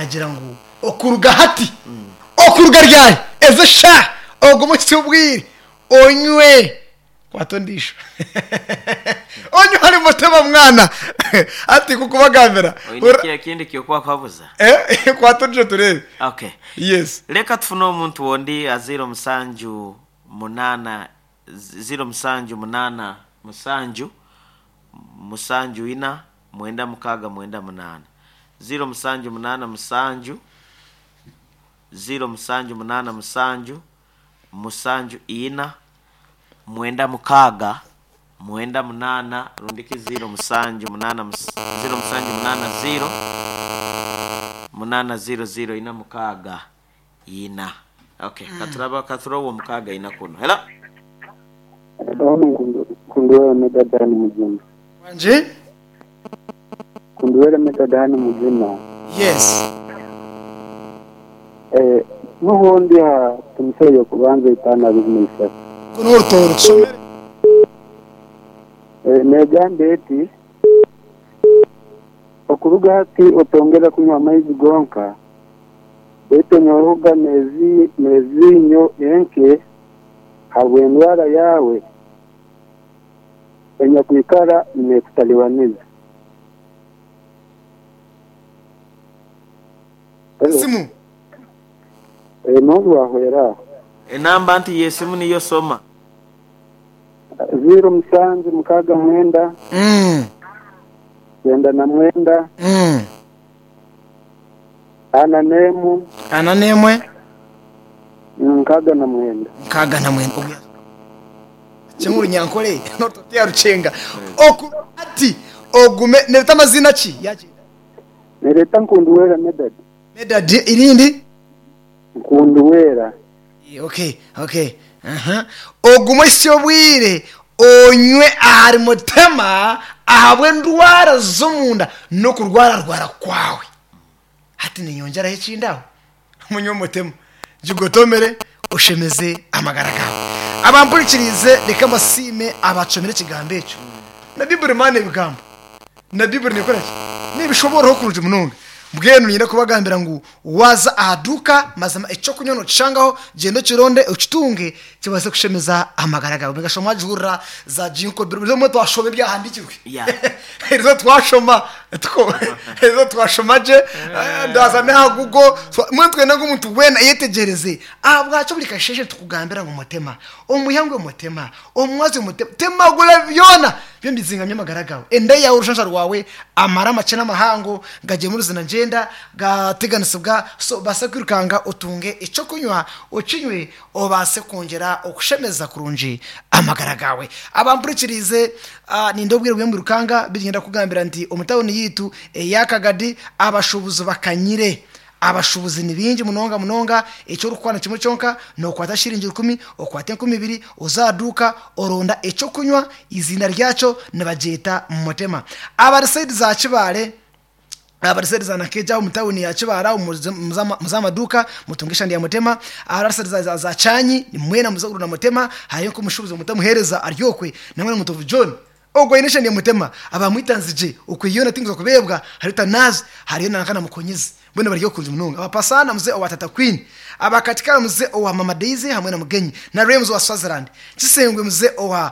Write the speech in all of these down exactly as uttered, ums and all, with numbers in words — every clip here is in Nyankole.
Nagira ngu okuruga hati, okuruga ryari, ezo shaaha, ogume ohitsye obwire, onywe. Kwata ondiijo. Onywe ahari Mutema mwana. Hati nk'okubagambira. Oine Hurira. ki ekindi ky'okuba kuhabuza? Eh, kwata ondiijo tureebe. Okay. Yes. Leka tufune omuntu ondi a ziro musanju munaana ziro musanju munaana musanju musanju ina mwenda mukaaga mwenda munaana ziro musanju munaana musanju ziro musanju munaana musanju musanju ina mwenda mukaaga mwenda munaana rundiki ziro musanju munaana mus- ziro musanju munaana ziro munaana ziro ziro ina mukaaga ina. Okay, katuraba katuraba mukaaga ina kuno. Hello. Adamu Kunduwele Medadani muzima. Wanje? Kunduwele Medadani muzima. Yes. Eh, n'ubundi ha tumuseye kubanza itana abiri n'isatu. Kuno orutooro tushomere. Eh, negamba eti okuruga hati otongera kunywa amaizi gonka baitu onyoruga nezi nezinyo enke habw'endwara yawe enyakwikara nekutalibaniza. Hello. Simu. Eh, n'obu wahwera Enamba nti yesimu niyo soma. ziro musanju mukaaga mwenda Mm. kyenda na mwenda Mm. ana n'emu Ana n'emwe nkaaga na mwenda. nkaaga na mwenda. Ogu kimwe urunyankore n'orutoto rucenga. Oku ati ogume nereta amazina ki? Yagyenda. Nereta Nkunduwera Medad. Medad irindi? Nkunduwera. Okay, okay. Aha. Ogume ohitsye obwire onywe ahari Mutema ahabw'endwara z'omunda n'okurwararwara kwawe. Hati ninyongyeraho ekindi aho. Munywe Mutema. Gigotomere oshemeze amagara gawe. Abampurikirize reka mbasiime abacomire ekigambo ekyo. Na Bibuli maana ebigambo. Na Bibuli nekora ki? Nibishoboraho kurungi munonga. Mbwenu niinyenda kubagambira ngu waza aha duuka mazima ekyokunywa nokishangaho gyenda okironde okitunge kibaase kushemeza amagara gawe. Mugashoma mwagihurira za jinko biro bimwe twashoma ebyahandikirwe. Yeah. Erizo twashoma tuko erizo twashoma gye eh, ndaza n'aha Google twa- mbwenu twenda ngu omuntu weena ayetegereze ahabwaki buri kasheshe tukugambira ngu Mutema omuhangwe Mutema omumwazi Mutema temagura byona byombi bizingamye amagara gawe enda yawe orushansha rwawe amara amakye n'amahango gagyemura ruzina ngyenda gateganisibwa so baase kwirukanga otunge ekyokunywa okinywe obaase kwongyera okushemeza kurungi amagara gawe. Abampurikirize uh, ninde obwire bw'emwirukanga bigenda kugambira nti omu tawuni yitu eyakagadi abashubuzi bakanyire. Abashubuzi ni bingi munonga munonga ekyo orikukwana kimwe kyonka nokwata shiringi rukumi okwata enkumi ibiri ozaduuka oronda ekyokunywa izina ryakyo nibagyeta Mutema. Abari saidi za Kibaale abari za Nakeja omu tawuni ya Kibaara muza amaduuka mutunge eshandi ya Mutema. Abari za, za, za Chanyi mwena muze kurunda Mutema hariyo nk'omushubuzi mutamuheereza aryokwe namwe na Mutovu John ogwo aine eshandi ya Mutema abamwitanzigye okwe yoona tinguza kubeebwa hariyo Tanazi hariyo nanka na Mukonyezi mbwenu bari okurungi munonga. Abapasana muze owa Tata Queen abakatikara muze owa Mama Daisy hamwe na Mugenyi na Rems wa Swaziland Kisengwe muze owa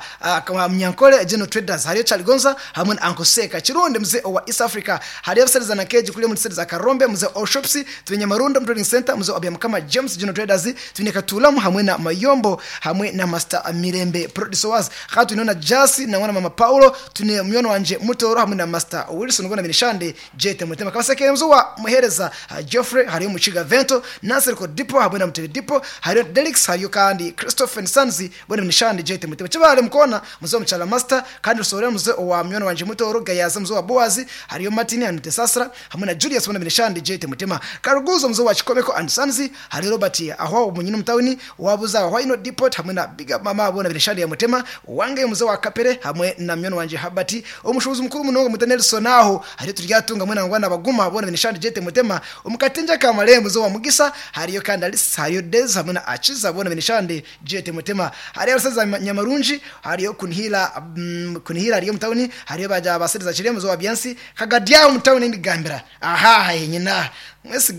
uh, wa Munyankole General Traders hariyo Chaligonza hamwe na Uncle Seka Kirundi muze owa East Africa hariyo abaseriza na Keji kuri muri za Karombe muze all shops twine Marundo Trading Center muze owa Mukama James General Traders twine Katulamu hamwe na Mayombo hamwe na Master Mirembe Producers hatu twine na Jasi na mwana Mama Paulo twine myono wanje Mutoro hamwe na Master Wilson gona Minishande Jete Mutema Kabaseke mzu wa Muhereza uh, Geoffrey hariyo Muchiga Vento Nasir ko Dipo hamwe na Mutebe Dipo hariyo Delix hariyo kandi Christopher Sanzi bona Minishande Jete Mutema Kibale mukona muze wa Muchala Master kandi rusorera muze wa myono wanje Mutoro Gayaza muze wa Boazi hariyo Martin and Tesasra hamwe na Julius bona Minishande Jete Mutema Karuguzo muze wa Chikomeko and Sanzi hariyo Robert aho munyini mutawuni wabuza aho ino Depot hamwe na Big Up Mama bona Minishande ya Mutema wange muze wa Kapere hamwe na myono wanje Habati omushubuzi mukuru munonga muta Nelson aho hariyo turyatunga mwe nangwa nabaguma bona Minishande Jete Mutema omukatinja kamale muze wa Mugisa hariyo kandi Alice hariyo Dez hamwe na Achiza bona Minishande Jete Mutema hariyo abasaza Nyamarunji hariyo Kunihila mm, Kunihila hariyo mutawuni hariyo baja abasiriza kiri muze wa Byansi Kagadia mutawuni ndigambira aha henyina mwese.